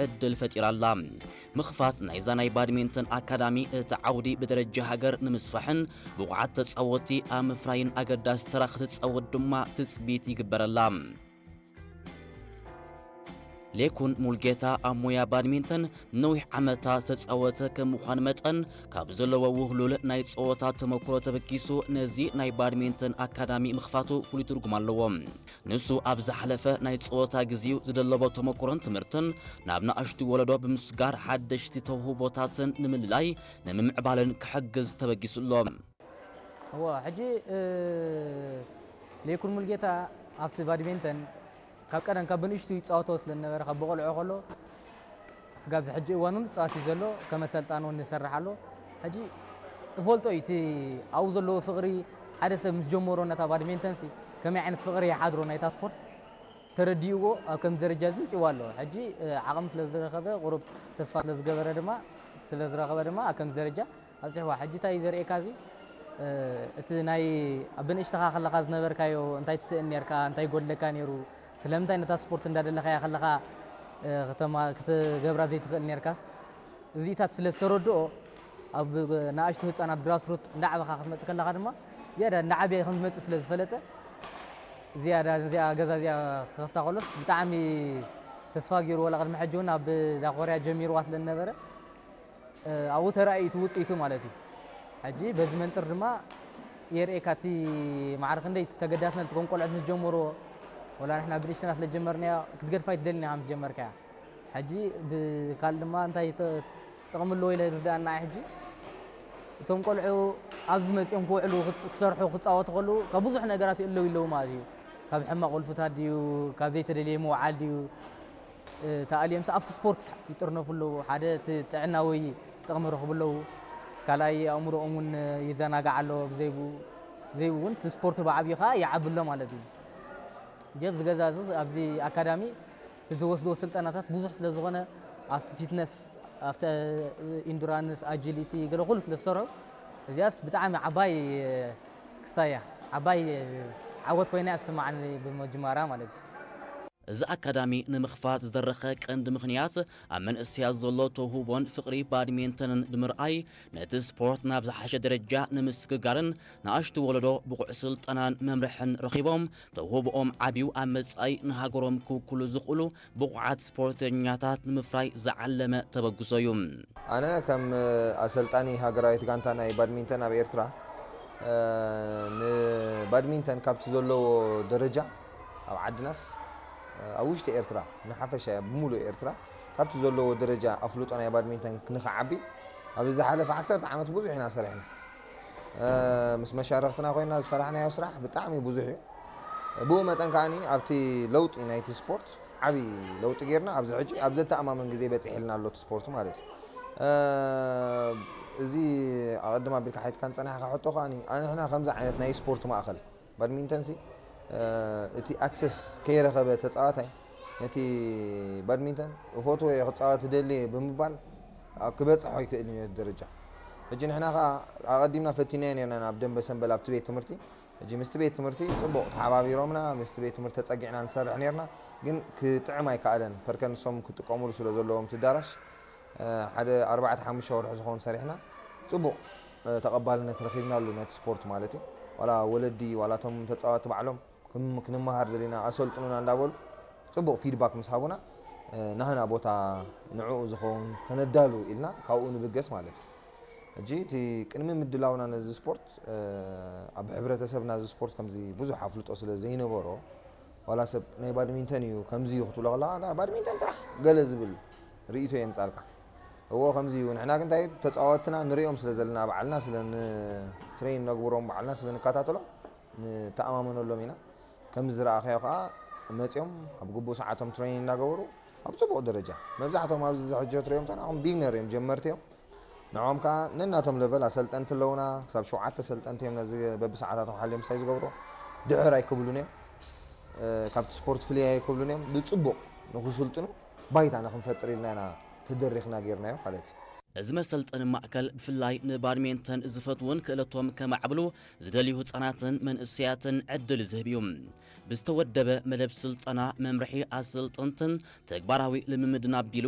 ዕድል ፈጢራ ኣላ። ምኽፋት ናይዛ ናይ ባድሚንተን ኣካዳሚ እቲ ዓውዲ ብደረጃ ሃገር ንምስፋሕን ብቑዓት ተጻወትቲ ኣብ ምፍራይን ኣገዳሲ ተራ ክትጻወት ድማ ትጽቢት ይግበረላ። ሌኩን ሙልጌታ ኣብ ሞያ ባድሚንተን ነዊሕ ዓመታት ዝተጻወተ ከም ምዃን መጠን፣ ካብ ዘለዎ ውህሉል ናይ ጸወታ ተመክሮ ተበጊሱ ነዚ ናይ ባድሚንተን ኣካዳሚ ምኽፋቱ ፍሉይ ትርጉም ኣለዎ። ንሱ ኣብ ዝሓለፈ ናይ ጸወታ ግዜኡ ዝደለቦ ተመክሮን ትምህርትን ናብ ንኣሽቱ ወለዶ ብምስጋር ሓደሽቲ ተውህቦታትን ንምልላይ ንምምዕባልን ክሕግዝ ተበጊሱ ኣሎ። እዋ፣ ሕጂ፣ እ፣ ሌኩን ሙልጌታ ኣብቲ ባድሚንተን ካብ ቀደም ካብ ብንእሽቱ ይጻወቶ ስለ ዝነበረ፣ ካብ ብቆልዑ ከሎ ስጋብ እዚ ሕጂ እዋን እውን ይጻወት እዩ ዘሎ። ከም ኣሰልጣኒ እውን ይሰርሕ ኣሎ። ሕጂ እፈልጦ እዩ፣ እቲ ኣብኡ ዘለዎ ፍቕሪ፣ ሓደ ሰብ ምስ ጀመሮ ነታ ባድሚንተን ሲ ከመይ ዓይነት ፍቕሪ ይሓድሮ ናይታ ስፖርት ተረዲእዎ ኣብ ከምዚ ደረጃ እዚ ምጽእዎ ኣሎ። ሕጂ፣ እ፣ ዓቕሚ ስለ ዝረኸበ፣ ቁሩብ ተስፋ ስለ ዝገበረ ድማ፣ ስለ ዝረኸበ ድማ ኣብ ከምዚ ደረጃ ኣብጽሕዋ። ሕጂ እንታይ እዩ ዘርእየካ እዚ? እ፣ እቲ ናይ ኣብ ብንእሽተኻ ከለኻ ዝነበርካዮ እንታይ ትስእን ኔርካ፣ እንታይ ይጎድለካ ኔሩ፣ ስለምንታይ ነታ ስፖርት እንዳደለኻያ ከለኻ፣ እ፣ ከተማ-፣ ክትገብራ ዘይትኽእል ኔርካስ? እዚታት ስለ ዝተረድኦ፣ ኣብ ንኣሽቱ ህጻናት ግራስሩት እንዳዓበኻ ክትመጽእ ከለኻ ድማ፣ ዝያዳ እንዳዓበየ ከም ዝመጽእ ስለ ዝፈለጠ፣ ዝያዳ እዚኣ ገዛ እዚኣ ክኸፍታ ከሎስ ብጣዕሚ ተስፋ ገይሩ፣ ዋላ ቅድሚ ሕጂ እውን ኣብ ዳኮርያ ጀሚርዋ ስለ ዝነበረ፣ እ፣ ኣብኡ ተራእዩ እቲ ውጽኢቱ ማለት እዩ። ሕጂ በዚ መንጽር ድማ የርእየካ እቲ ማዕረ ክንደይ እቲ ተገዳስነት፣ እቶም ቆልዑት ምስ ጀመርዎ፣ ወላ ንሕና ብንእሽተና ስለ ዝጀመርናዮ ክትገድፋ ኣይትደልን ኢኻ ምስ ጀመርካያ። ሕጂ ብካል ድማ እንታይ ተ-፣ ጥቕሚ ኣለዎ ኢለ ይርድኣና እየ። ሕጂ እቶም ቆልዑ ኣብዚ መጺኦም ክውዕሉ፣ ክጽ-፣ ክሰርሑ፣ ክጻወቱ ከለዉ ካብ ብዙሕ ነገራት ይእለዉ ይለዉ ማለት እዩ። ካብ ሕማቕ ወልፍታት ድዩ፣ ካብ ዘይተደልየ ምውዓል ድዩ፣ እ፣ ተኣልዮምስ ኣብቲ ስፖርት ይጥርነፉ ኣለዉ። ሓደ እቲ ጥዕናዊ ጥቕሚ ረኽቡ ኣለዉ። ካልኣይ ኣእምሮኦም እውን ይዘናጋዕ ኣሎ። ብዘይብኡ፣ ብዘይብኡ እውን እቲ ስፖርት ብዓብዩ ኸዓ ይዓቢ ኣሎ ማለት እዩ። ጀብዚ ገዛ እዚ ኣብዚ ኣካዳሚ እቲ ዝወስድዎ ስልጠናታት ብዙሕ ስለ ዝኾነ ኣብቲ ፊትነስ፣ ኣብቲ ኢንዱራንስ፣ ኣጂሊቲ ገለ ኩሉ ስለ ዝሰርሑ እዚኣስ ብጣዕሚ ዓባይ ክስታይ እያ። ዓባይ ዓወት ኮይና እያ ዝስማዓኒ ብምጅማራ ማለት እዩ። እዚ ኣካዳሚ ንምኽፋት ዝደረኸ ቀንዲ ምኽንያት ኣብ መንእሰያት ዘሎ ተውህቦን ፍቕሪ ባድሚንተንን ብምርኣይ ነቲ ስፖርት ናብ ዝሓሸ ደረጃ ንምስግጋርን ንኣሽቱ ወለዶ ብቑዕ ስልጠናን መምርሕን ረኺቦም ተውህቦኦም ዓብዩ ኣብ መጻኢ ንሃገሮም ክውክሉ ዝኽእሉ ብቑዓት ስፖርተኛታት ንምፍራይ ዝዓለመ ተበግሶ እዩ። ኣነ ከም ኣሰልጣኒ ሃገራዊት ጋንታ ናይ ባድሚንተን ኣብ ኤርትራ፣ እ፣ ንባድሚንተን ካብቲ ዘለዎ ደረጃ ኣብ ዓድናስ፣ እ፣ ኣብ ውሽጢ ኤርትራ ንሓፈሻ ብምሉእ ኤርትራ ካብቲ ዘለዎ ደረጃ ኣፍልጦ ናይ ባድሚንተን ንኽዓቢ ኣብ ዝሓለፈ ዓሰርተ ዓመት ብዙሕ ኢና ሰሪሕና። እ፣ ምስ መሻርኽትና ኮይና ዝሰራሕናዮ ስራሕ ብጣዕሚ ብዙሕ እዩ። ብኡ መጠን ከኣኒ ኣብቲ ለውጢ ናይቲ ስፖርት ዓቢ ለውጢ ጌርና ኣብዚ ሕጂ ኣብ ዘተኣማምን ግዜ በጺሕልና ኣሎ እቲ ስፖርት ማለት እዩ። እ፣ እዚ ኣቐድም ኣቢልካ ሓቲትካን ጸኒሕካ ሕቶ ከኣኒ፣ ኣንሕና ከምዚ ዓይነት ናይ ስፖርት ማእከል ባድሚንተን ሲ፣ እ፣ እቲ ኣክሰስ ከይረኸበ ተጻዋታይ ነቲ ባድሚንተን እፈትዎ እየ ክጻወት እደሊ እየ ብምባል ኣብ ክበጽሖ ኣይክእልን እዩ ነቲ ደረጃ። ሕጂ ንሕና ከኣ ኣቐዲምና ፈቲናዮ ኔርና ናብ ደንበ ሰንበል ኣብቲ ቤት ትምህርቲ። ሕጂ ምስቲ ቤት ትምህርቲ ጽቡቕ ተሓባቢሮምና፣ ምስቲ ቤት ትምህርቲ ተጸጊዕና ንሰርሕ ኔርና፣ ግን ክጥዕም ኣይከኣለን። ፐርከ ንሶም ክጥቀሙሉ ስለ ዘለዎም እቲ ኣዳራሽ፣ እ፣ ሓደ ኣርባዕተ ሓሙሽተ ወርሒ ዝኸውን ሰሪሕና፣ ጽቡቕ፣ እ፣ ተቐባልነት ረኺብናሉ ነቲ ስፖርት ማለት እዩ። ዋላ ወለዲ፣ ዋላ እቶም ተጻወትቲ ባዕሎም ክም-፣ ክንመሃር ደሊና፣ ኣሰልጥኑና እንዳበሉ ጽቡቕ ፊድባክ ምስ ሃቡና፣ እ፣ ናህና ቦታ ንዕኡ ዝኸውን ከነዳሉ ኢልና ካብኡ ንብገስ ማለት እዩ። ሕጂ እቲ ቅድሚ ምድላውና ነዚ ስፖርት፣ እ፣ ኣብ ሕብረተሰብና እዚ ስፖርት ከምዚ ብዙሕ ኣፍልጦ ስለ ዘይነበሮ፣ ዋላ ሰብ ናይ ባድሚንተን እዩ ከምዚ እዩ ክትብሎ ከለኻ፣ "ኣታ ባድሚንተን ጥራሕ" ገለ ዝብል ርእይቶ የምጻልካ። እዎ ከምዚ እዩ። ንሕና ግን እንታይ ተጻወትና ንርእዮም ስለ ዘለና፣ ባዕልና ስለ ን-፣ ትሬን ነግብሮም፣ ባዕልና ስለ ንከታተሎም ንተኣማመነሎም ኢና። ከም ዝረኣኻዮ ከኣ መጺኦም ኣብ ግቡእ ሰዓቶም ትሬኒንግ እናገበሩ ኣብ ጽቡቕ ደረጃ፣ መብዛሕትኦም ኣብዚ ሕጂ ትርእዮም ተናኹም ቢግነር እዮም፣ ጀመርቲ እዮም። ንዕኦም ከኣ ነናቶም ለቨል ኣሰልጠንቲ ኣለዉና፣ ክሳብ ሸውዓተ ኣሰልጠንቲ እዮም ነዚ በብሰዓታቶም ሓልዮም ምሳይ ዝገብሩ። ድሕር ኣይክብሉን እዮም። እ፣ ካብቲ ስፖርት ፍልይ ኣይክብሉን እዮም። ብጽቡቕ ንኽስልጥኑ ባይታ ንኽንፈጥር ኢልና ኢና ተደሪኽና ጌርናዮ ማለት እዩ። እዚ መሰልጠኒ ማእከል ብፍላይ ንባድሜንተን ዝፈትውን ክእለቶም ከማዕብሉ ዝደልዩ ህጻናትን መንእሰያትን ዕድል ዝህብ እዩ። ብዝተወደበ መደብ ስልጠና፣ መምርሒ ኣሰልጠንትን ተግባራዊ ልምምድን ኣቢሉ